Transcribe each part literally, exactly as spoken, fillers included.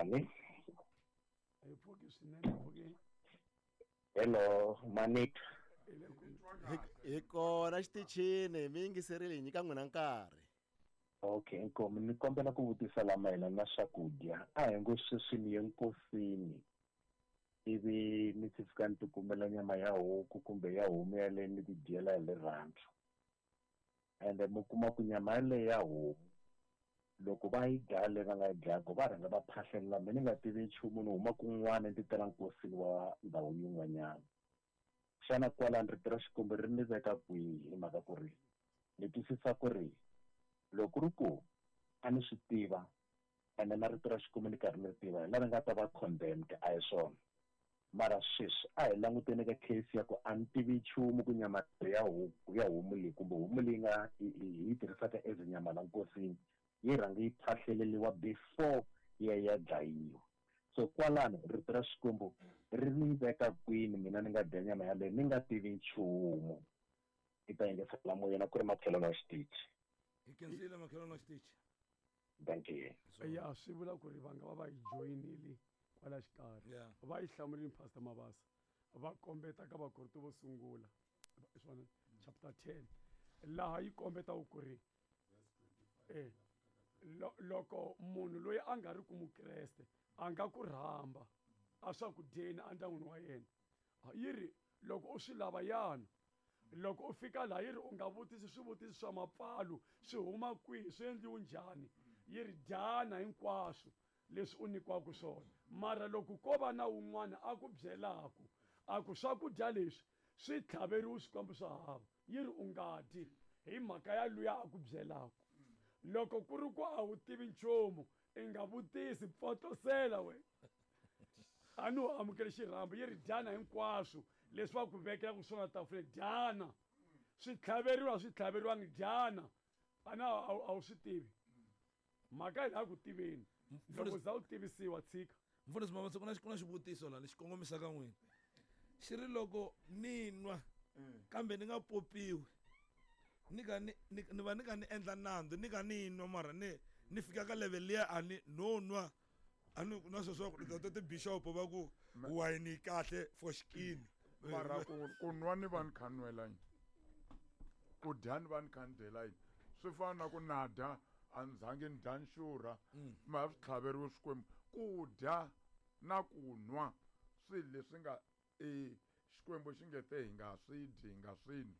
Minjhani? Hi pfuki swinene, hi pfuki. Hello, Manit. Hi le ku Hi kona xitichini, mi yingiserile hi nyika n'wina nkarhi. Okay, inkomu ni kombela ku vutisa la mayelana na swakudya. A hi ngo sweswi ni ye nkosini ivi ni ti fika ni tikumela nyama ya huku kumbe ya homu yaleyo ni ti dyela hi rirhandzu. Ende mi kuma ku nyama yaleyo ya homu loko va yi dlaya leyi va nga yi dlayaku va rhanga va phahlelela mina ni nga tivi nchumu ni huma kun'wana ni ti tela nkosini wa ndhawu yin'wanyana. Xana kwalano rito ra Xikwembu ri ni veka kwihi hi mhaka ku ri ni twisisa ku ri loko ri ku a ni swi tiva ene na rito ra Xikwembu ni karhi ni ri tiva hi laha ni nga ta va condemned a hi swona. Mara sweswi a hi languteni ka case ya ku a ni tivi nchumu ku nyama ya huku ya homu leyi kumbe homu leyi nga hi yi tirhisaka as nyama la nkosini yi rhanga yi phahleleriwa before yi ya ya dlayiwa. So kwalano rito ra Xikwembu ri ni veka kwini mina ni nga dya nyama yaleyo ni nga tivi nchumu. I ta yingisela moyeni ku ri makhelwani wa xitichi. Hi khensile makhelwani wa xitichi. Thank you. Ya swi vula ku ri va nga va va yi joyinile kwala xikarhi. Yeah. Va yi hlamurile Pastor Mabasa. Va kombeta ka Vakorinto vo sungula swona chapter ten laha yi kombetaka ku ri eh loko munhu loyi a nga ri ku mukreste a nga ku rhamba a swakudyeni endyangwini wa yena, yi ri loko u swi lava yana, loko u fika laha yi ri u nga vutisi swivutiso swa mapfalo swi huma kwihi swi endliwe njhani, yi ri dyana hinkwaswo leswi u nyikiwaka swona. Mara loko ko va na wun'wana a ku byelaka a ku swakudya leswi swi tlhaveriwe swikwembu swa hava, yi ri u nga dyi hi mhaka ya luya a ku byelaka. Loko ku ri ku a wu tivi nchumu i nga vutisi, pfotosela we a ni u amukele xirhambo, yi ri dyana hinkwaswo leswi va ku vekelaka swona tafuleni, dyana swi tlhaveriwa swi tlhaveriwangi, dyana a na a wu swi tivi mhaka hi laha ku tiveni. Loko za u tivisiwa tshika. Mfundhisi Mabasa, ku na ku na xivutiso laha lexi kongomisaka n'wina. Xi ri loko ni nwa kambe ni nga popiwi ni ka ni ni va ni ka ni endla nandzu ni ka ni nwa mara ni ni fika ka level liya a ni no nwa a ni na sweswo ku ta ti-bishop va ku wine yi kahle for xikini. Mara ku ku nwa ni va ni kha ni nwela yini, ku dya ni va ni kha ni dyela yini, swi fana na ku na dya a ni zangi ni dya ni xurha ma swi tlhaveriwe Xikwembu. Ku dya na ku nwa swilo leswi nga e Xikwembu xi nge te hi nga swi dyi hi nga swi nwi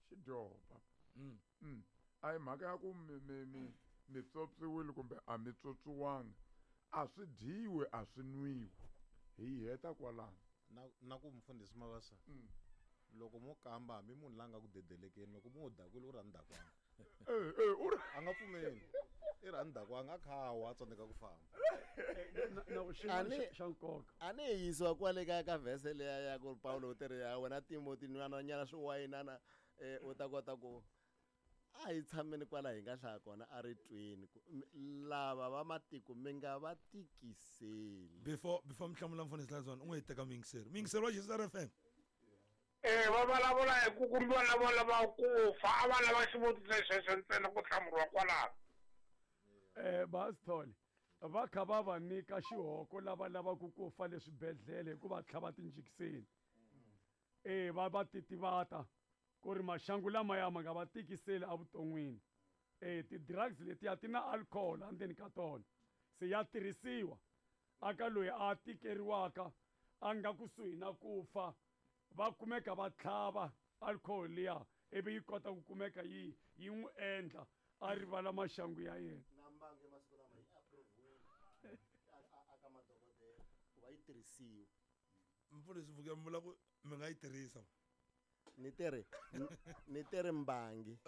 xi dyopa. Mm. A hi mhaka ya ku mi mi mi mi tswotswiwile kumbe a mi tswotswiwanga, a swi dyiwe a swi nwiwi, hi heta kwalano. Na na ku mfundhisi Mabasa, loko mo kamba hambi munhu la nga ku dedelekeni loko mo dakwile u ri a ni dakwanga. Eh eh u ri a nga pfumeli i ri a ni dakwanga a kha wa tsandzeka ku famba. Na xi xa nkoka a ni yisiwa kwale ka ka verse leya ya ku Paulo u tirhi ya wena Timothy nwana nyana swi wayinana u ta kota ku a hi tshameni kwala hi nga hlaya kona a ri twini lava va matiko mi nga va tikiseli. Before before mi hlamula mfundhisi Lazwana u n'wi teka muyingiseri muyingiseri wa Jesus F M. Eh va vulavula hi ku kumbiwa lava lava ku fa a va lava xivutiso xexo ntsena ku hlamuriwa kwalano. Eh Basithole va kha va va nyika xihoko lava lavaka ku fa le swibedhlele hi ku va tlhava tinjekiseni. Eh va va titivata ku ri maxangu lamaya ma nga va tikiseli evuton'wini. Eh ti-drugs letiya ti na alcohol endzeni ka tona, se ya tirhisiwa aka loyi a tikeriwaka a nga kusuhi na ku fa, va kumeka va tlhava alcohol liya ivi yi kota ku kumeka yi yi n'wi endla a rivala maxangu ya yena. Na mbangi masiku lama yi approve-wile aka madokodela ku va yi tirhisiwa. Mfundhisi Vuke mi vula ku mi nga yi tirhisa? Ni tirhi ni tirhi mbangi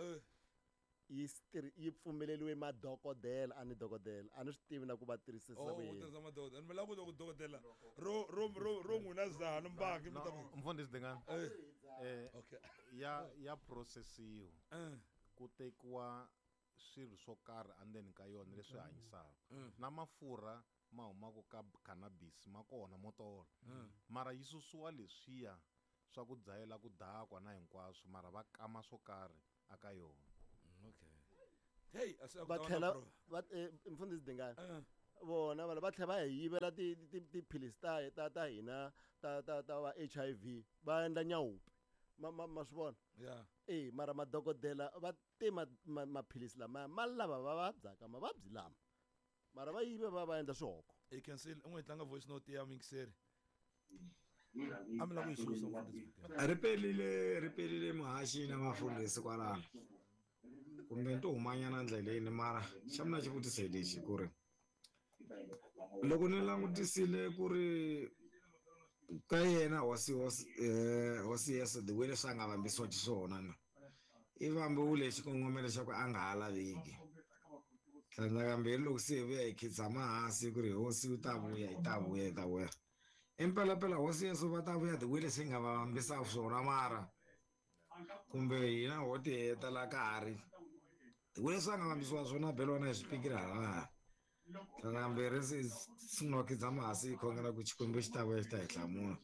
yi yi pfumeleriwe madokodela a ni dokodela a ni swi tivi na ku va tirhisisa ku yini. Oh, tirhisa madokodela ni vula ku loko dokodela ro ro ro ro n'wina zahana mbangi mi ta ku mfundhisi Dingani eh okay ya ya processiwa ku tekiwa swilo swo karhi endzeni ka yona leswi hanyisaka na mafurha ma humaka ka cannabis ma kona mo tola mara yi susiwa leswiya swa ku dzayela ku dakwa na hinkwaswo mara va kama swo karhi aka yona. Okay. Hey, va tlhela va mfundhisi Dingani Vona vanhu va tlhela va hi yivela ti ti tiphilisi ta ta ta hina ta ta ta va H I V va endla nyawupi. Ma ma ma swi vona? Yeah. Eh mara madokodela va te ma maphilisi lama ma lava va vabyaka mavabyi lama. Mara va yive va va endla swihoko. I can see u n'wi tlanga voice note ya mixer. A mi la ku yi susa mfundhisi. Ri pelile ri pelile muhaxi na mafundhisi kwalano. Kumbe ni to humanyana ndleleni mara xa mina xivutiso hi lexi ku ri loko ni langutisile ku ri ka yena hosi hosi eh hosi Yesu the way leswi a nga vambisiwa xiswona na i vambiwile xikongomelo xa ku a nga ha laveki. Tlhandlakambirhi loko se hi vuya hi khidzama hansi ku ri hosi yi ta vuya yi ta vuya yi ta vuya. Impela hosi Yesu va ta vuya the way leswi hi nga va vambisa swona mara kumbe hina ho ti heta la ka ha ri the way leswi a nga vambisiwa swona belo na hi swipikiri halaya. Tlhandlakambirhi se sungula ku khidzama hansi hi khongela ku Xikwembu xi ta vuya xi ta hi hlamula.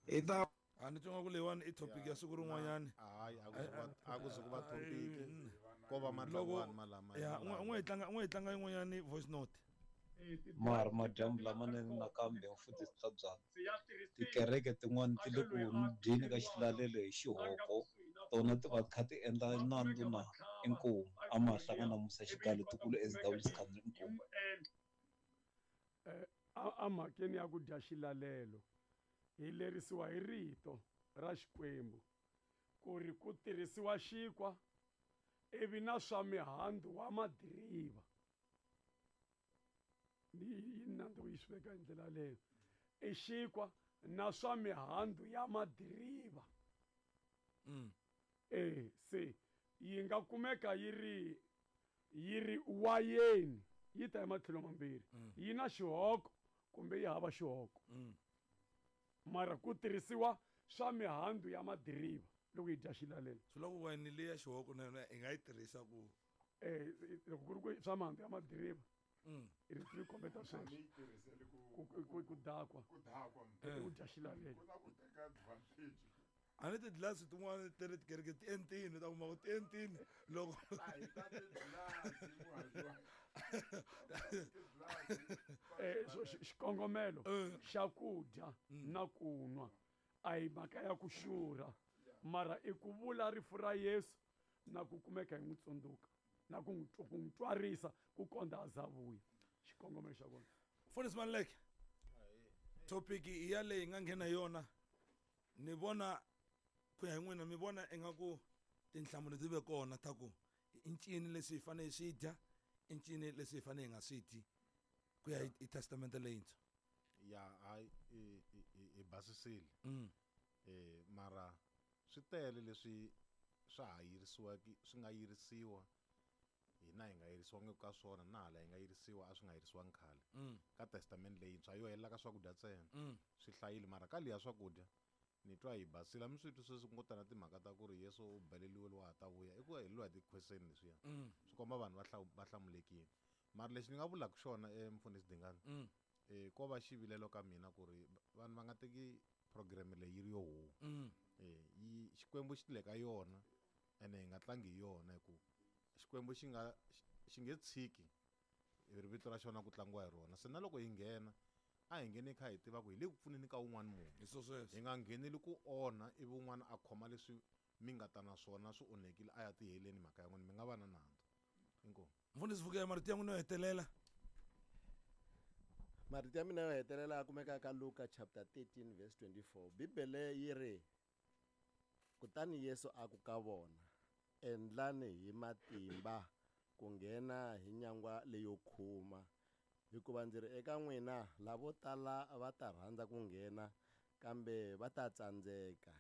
I ta a ni tsonga ku leyiwani i topic ya siku rin'wanyani. Hayi a ku a ku ze ku va topic ko va matlangwani malama. Ya n'we hi tlanga n'we hi tlanga yin'wanyani voice note. Mara madyambu lamanene nakambe mfundhisi Tlhabyana. Tikereke tin'wani ti le ku dyeni ka xilalelo hi xihoko tona ti va kha ti endla nandzu na inkomu a ma hlangana Musa Xigalo tikulu S W Sikhandza inkomu. Eh a mhakeni ya ku dya xilalelo hi lerisiwa hi rito ra Xikwembu ku ri ku tirhisiwa xinkwa ivi na swa mihandzu wa madiriva. Ni yi nandzu yi swi veka hi ndlela leyo i xinkwa na swa mihandzu ya madiriva. Mm. Eh se yi nga kumeka yi ri yi ri wayeni yi ta ematlhelo mambirhi yi na xihoko kumbe yi hava xihoko. Mara ku tirhisiwa swa mihandzu ya madiriva loko yi dya xilalelo. Swi loko wayeni leyi ya xihoko na yona i nga yi tirhisa ku eh loko ku ri ku swa mihandzu ya madiriva ri ri kombeta sweswo ku ku dakwa ku dakwa ku dya xilalelo. Ku na ku teka advantage. A ni tiglasi tin'wana ti ri tikereke ti entini ta kuma ku ti entini loko eh xikongomelo xa ku dya na ku nwa a hi mhaka ya ku xurha mara i ku vula rifu ra Yesu na ku kumeka hi n'wi tsundzuka na ku n'wi ku n'wi twarisa ku kondza a za vuya xikongomelo xa kona. Mfundhisi Maluleke, topic i ya leyi nga nghena yona ni vona ku ya hi n'wina mi vona ingaku tinhlamulo ti ve kona ta ku i ncini leswi hi fanele hi swi dya i ncini leswi hi fanele hi nga swi dyi ku ya hi testamente leyintshwa. Ya hayi i basisile Mm. eh mara swi tele leswi swa ha yirisiwaki swi nga yirisiwa hina hi nga yirisiwangi ka swona na hala hi nga yirisiwa a swi nga yirisiwangi khale. Mm. Ka testament leyintshwa yo helela ka swakudya ntsena Mm. swi hlayile mara ka liya swakudya ni twa hi basile a mi swi twi sweswi ku ngo tana timhaka ta ku ri Yesu u beleliwe lowa ha ta vuya i ku heleliwa hi ti-question leswiya Mm. swi komba vanhu va va hlamulekile mara lexi ni nga vulaka xona eh mfundhisi Dingani Mm. eh ko va xivilelo ka mina ku ri vanhu va nga teki program leyi yi ri yo huwa. Mm. Eh yi Xikwembu xi le ka yona ene hi nga tlangi hi yona hi ku Xikwembu xi nga xi nge tshiki hi vito ra xona ku tlangiwa hi rona se na loko hi nghena a hi ngheni kha hi tiva ku hi le ku pfuneni ka un'wana munhu. Hi swo sweswo. Hi nga ngheneli ku onha ivi un'wana a khoma leswi mi nga ta na swona swi onhekile a ya tiheleni mhaka ya n'wina mi nga va na nandzu. Inkomu. Mfundhisi Vukela, marito ya n'wina yo hetelela. Marito ya mina yo hetelela a kumeka ka Luka chapter thirteen verse twenty-four. Bibele yi ri kutani Yesu a ku ka vona endlani hi matimba ku nghena hi nyangwa leyo khuma hikuva ndzi ri eka n'wina lavo tala va ta rhandza ku nghena kambe va ta tsandzeka.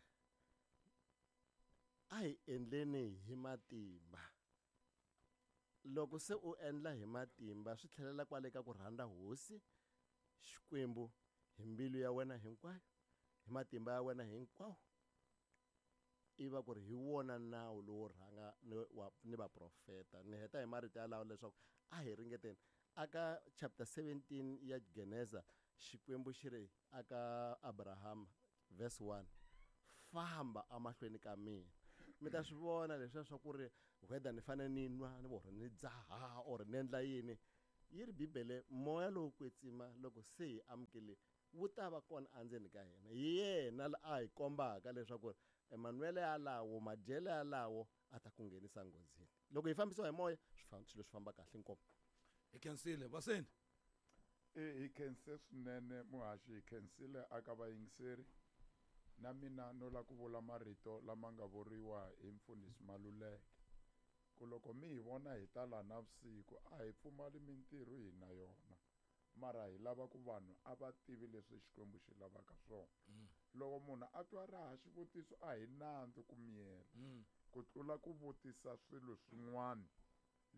A hi endleni hi matimba. Loko se u endla hi matimba swi tlhelela kwale ka ku rhandza hosi Xikwembu hi mbilu ya wena hinkwayo hi matimba ya wena hinkwawo i va ku ri hi wona nawu lowo rhanga ni wa ni vaprofeta. Ni heta hi marito yalawo leswaku a hi ringeteni. Aka chapter seventeen ya Geneza Xikwembu xi ri aka Abraham verse one famba amahlweni ka mina. Mi ta swi vona leswiya swa ku ri whether ni fanele ni nwa ni or ni dzaha or ni endla yini Yi ri Bibele moya lowo kwetsima loko se hi amukele wu ta va kona endzeni ka hina. Hi yena la a hi kombaka leswaku Emmanuel yalawo madyelo yalawo a ta ku nghenisa nghozini. Loko hi fambisiwa hi moya swilo swi famba kahle inkomu. Hi khensile vaseni. E hi khense swinene muhaxi, hi khensile aka vayingiseri. Na mina no la ku vula marito lama nga vuriwa hi mfundhisi Maluleke ku loko mi hi vona hi ta la navusiku a hi pfumali mintirho hi na yona, mara hi lava ku vanhu a va tivi leswi Xikwembu xi lavaka swona. Loko munhu a twa ra ha xivutiso a hi nandzu ku miyela ku tlula ku vutisa swilo swin'wana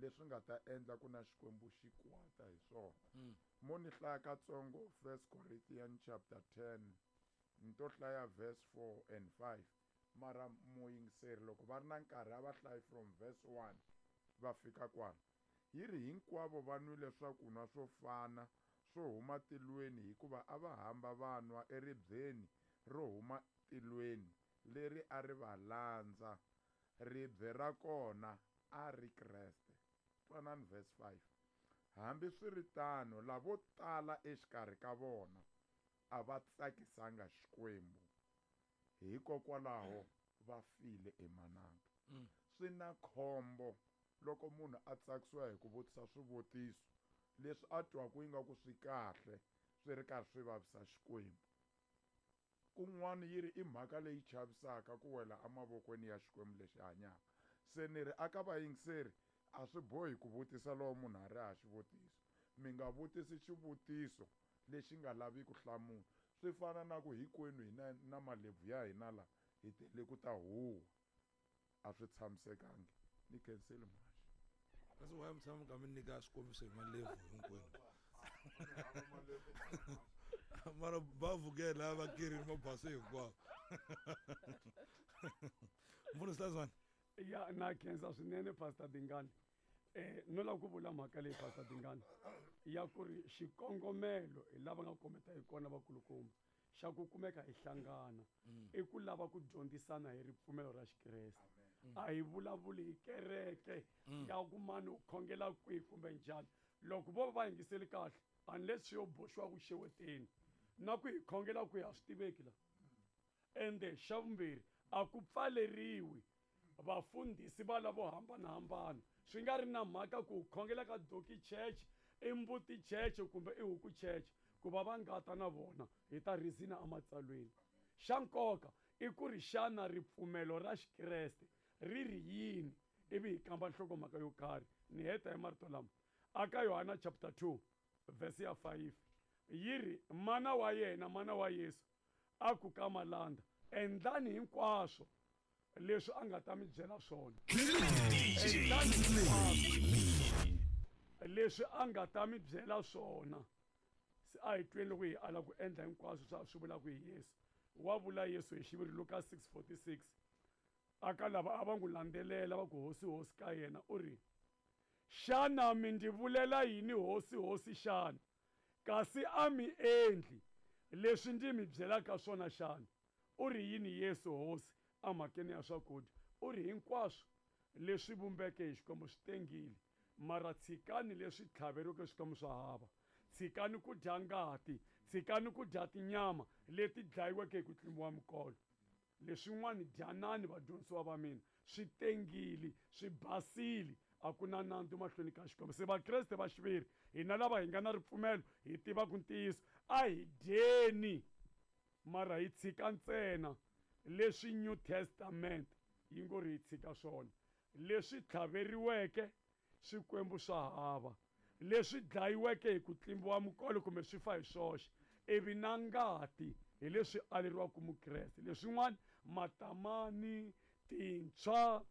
leswi nga ta endla ku na Xikwembu xi kwata hi swona. Mo ni hlaya katsongo First Corinthians chapter ten ni to hlaya verse four and five, mara muyingiseri loko va ri na nkarhi a va hlayi from verse one va fika kwala. Yi ri hinkwavo va nwile swakunwa swo fana swo huma tilweni, hikuva a va hamba va nwa eribyeni ro huma tilweni leri a ri va landza. Ribye ra kona a ri Kreste. Twanani verse five. Hambiswiritano lavo tala exikarhi ka vona a va tsakisanga Xikwembu, hikokwalaho va file emananga. Swi na khombo loko munhu a tsakisiwa hi ku vutisa swivutiso leswi a twaku ingaku swi kahle swi ri karhi swi vavisa Xikwembu. Kun'wana yi ri i mhaka leyi chavisaka ku wela emavokweni ya Xikwembu lexi hanyaka. Se ni ri aka vayingiseri a swi bohi ku vutisa loko munhu a ri ha xivutiso. Mi nga vutisi xivutiso lexi nga lavi ku hlamula. Swi fana na ku hinkwenu hina na malebvu ya hina la hi tele ku ta huwa, a swi tshamisekangi. Ni khensile muhaxi. Kasi why mi tshama mi kha mi nyika swikombiso hi malebvu hinkwenu? Mara va vukela va kerini mabasa hinkwawo. Mfundhisi Hlazwana. Ya na khensa swinene Pastor Dingani. Eh no lava ku vula mhaka leyi Pastor Dingani ya ku ri xikongomelo hi lava nga kombeta hi kona vakulukumba xa ku kumeka hi hlangana i ku lava ku dyondzisana hi ripfumelo ra Xikreste. A hi vulavuli hi kereke ya ku mani u khongela kwihi kumbe njhani. Loko vo va yingiseli kahle unless swi yo boxiwa ku xeweteni na ku hi khongela ku a swi tiveki la. Ende xa vumbirhi a ku pfaleriwi vafundhisi va lavo hambanahambana, swi nga ri na mhaka ku khongela ka Doki Church, i Mbuti Church kumbe i Huku Church, ku va va nga ta na vona hi ta rizina ematsalweni. Xa nkoka i ku ri xana ripfumelo ra Xikreste ri ri yini, ivi hi kamba nhlokomhaka yo karhi. Ni heta hi marito lama aka Yohana chapter two verse ya five yi ri mana wa yena, mana wa Yesu a ku ka malanda, endlani hinkwaswo leswi a nga ta mi byela swona. Endlani hinkwaswo leswi a nga ta mi byela swona. Se a hi tweni loko hi ala ku endla hinkwaswo swa swi vulaka hi Yesu. Wa vula Yesu hi xiviri Luka six forty-six aka lava a va n'wi landzelela va ku hosi hosi ka yena, u ri xana mi ndzi vulela yini hosi hosi xana, kasi a mi endli leswi ndzi mi byelaka swona xana? U ri yini Yesu hosi emhakeni ya swakudya? U ri hinkwaswo leswi vumbeke hi Xikwembu swi tengile, mara tshikani leswi tlhaveriweke swikwembu swa hava. Tshikani ku dya ngati, tshikani ku dya tinyama leti dlayiweke hi ku tlimbiwa mikolo. Leswin'wana dyanani vadyondzisiwa va mina, swi tengile, swi basile, a ku na nandzu mahlweni ka Xikwembu. Se Vakreste va xiviri hina lava hi nga na ripfumelo hi tivaka ntiyiso, a hi dyeni mara hi tshika ntsena leswi New Testament yi ngo ri hi tshika swona, leswi tlhaveriweke swikwembu swa hava, leswi dlayiweke hi ku tlimbiwa mikolo kumbe swi fa hi swoxe, ivi na ngati hi leswi aleriwaka Mukreste. Leswin'wana matamani, tintshwa,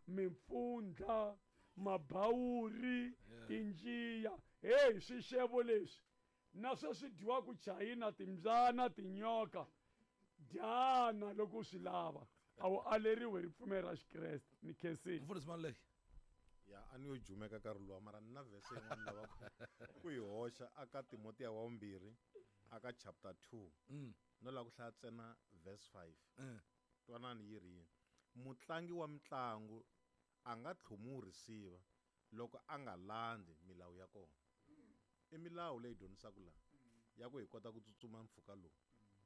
mimpfundla, mabawuri, tinjiya, hey swixevo leswi na sweswi dyiwaka chayina, timbyana, tinyoka, dyana loko u swi lava, a wu aleriwi ripfumelo ra Xikreste. Ni khensile. Mfundhisi Maluleke. Ya a ni yo jumeka nkarhi luwa, mara ni na verse yin'wana lava ku yi hoxa aka Timotiya wa vumbirhi aka chapter two. No lava ku hlaya ntsena verse five. Twanani yi ri yini? Mutlangi wa mitlangu a nga tlhomiwi risiva loko a nga landzi milawu ya kona. I milawu leyi dyondzisaka laha ya ku hi kota ku tsutsuma mpfhuka lowu,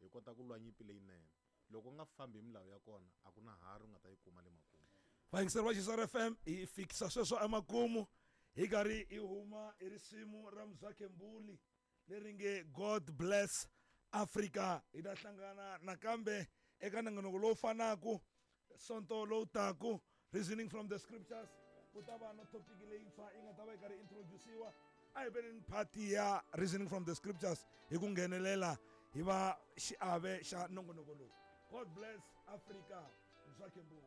hi kota ku lwa nyimpi leyinene. Loko u nga fambi hi milawu ya kona, a ku na harhi u nga ta yi kuma le makumu. Vayingiseri va Xiswara F M, hi fikisa sweswo emakumu hi karhi hi huma hi risimu ra Mzwakhe Mbuli leri nge God Bless Africa. Hi ta hlangana nakambe eka nongonoko lowu fanaka sonto lowu taku, Reasoning from the Scriptures. Ku ta va na topic leyintshwa yi nga ta va yi karhi introduce-iwa. A hi veneni party ya Reasoning from the Scriptures hi ku nghenelela hi va xiave xa nongonoko lowu. God bless Africa. Mzwakhe Mbuli.